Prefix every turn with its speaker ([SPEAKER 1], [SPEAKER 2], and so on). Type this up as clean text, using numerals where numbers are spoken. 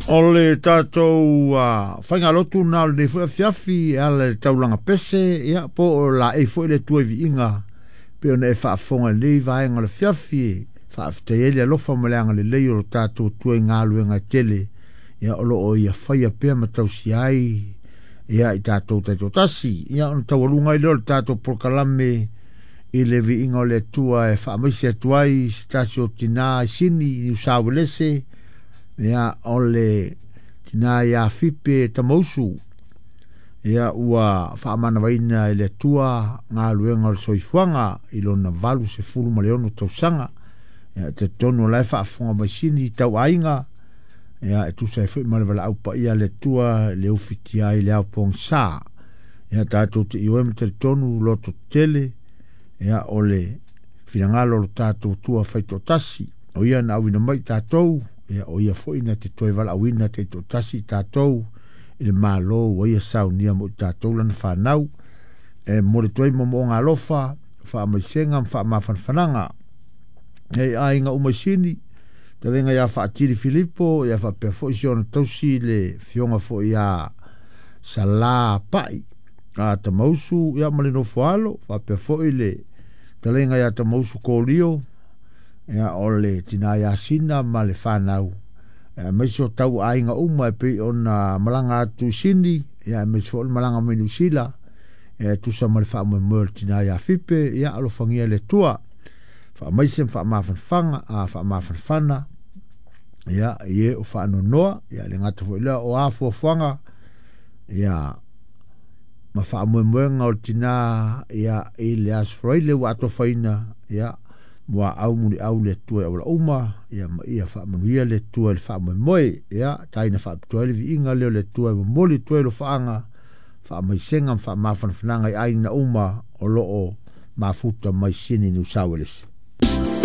[SPEAKER 1] O le tatou faigalotu lena o lenei foi afiafi e ala i le taulaga pese, ia po o laei foi le Atua i viiga pei ona e faafofoga i lenei vaega o le afiafi e faafetai ai le alofa ma le agalelei o lo tatou Atua i galuega e tele ia o lo o ia faia pea ma tausia ai ia i tatou taitoatasi. Ia ona taualuga ai lea o le tatou polokalame i le viiga o le Atua e faamaise atu ai se tasi o tina i Sini i Niu Sauelese, ia o le tina ia Fipe Tamausu. Ia ua faamanavaina e le Atua galuega o le soifuaga i lona 86 tausaga. Ia e talitonu o la e faafofoga mai Sini tau aiga, ia e tusa ai foi ma le valaau paia a le Atua le ufitia ai le ao pogisa. Ia tatou te ioe ma talitonu loto tele, ia o le finagalo o lo tatou Atua faitoatasi, o ia na auina mai tatou, ia o ia foi na te toe valaauina taitoatasi tatou i le Malo ua ia saunia mo i tatou lana fanau. E momoli atu ai moomooga alofa, faamaisega ma faamafanafanaga e aiga uma i Sini, talega ia Faatili Filipo, ia faapea foi si ona tausi le fioga foi ia Sala Pai a Tamausu, ia ma le nofo alo, faapea foi le talega ia Tamausu Kolio, ia o le tina ia Sina ma le fanau, aemaise o tau aiga uma e pei ona malaga atu i Sini, ia aemaise foi o le malaga mai Niu Sila, e tusa ma le faamoemoe o le tina ia Fipe, ia alofagia le Atua faamaise ma faamafanafana a faamafanafana ia i e o faanonoa, ia le gata foi lea o afuafuaga ia ma faamoemoega o le tina ia i le Aso Faraile ua atofaina, ia muaau muliau le Atua i auala uma, ia ma ia faamanuia le Atua i le faamoemoe, ia taina faapitoa ai le viiga lea o le Atua e momoli atu ai alofaaga faamaisega ma faamafanafanaga i aiga uma o lo o mafuta mai Sini Niu Sauelese.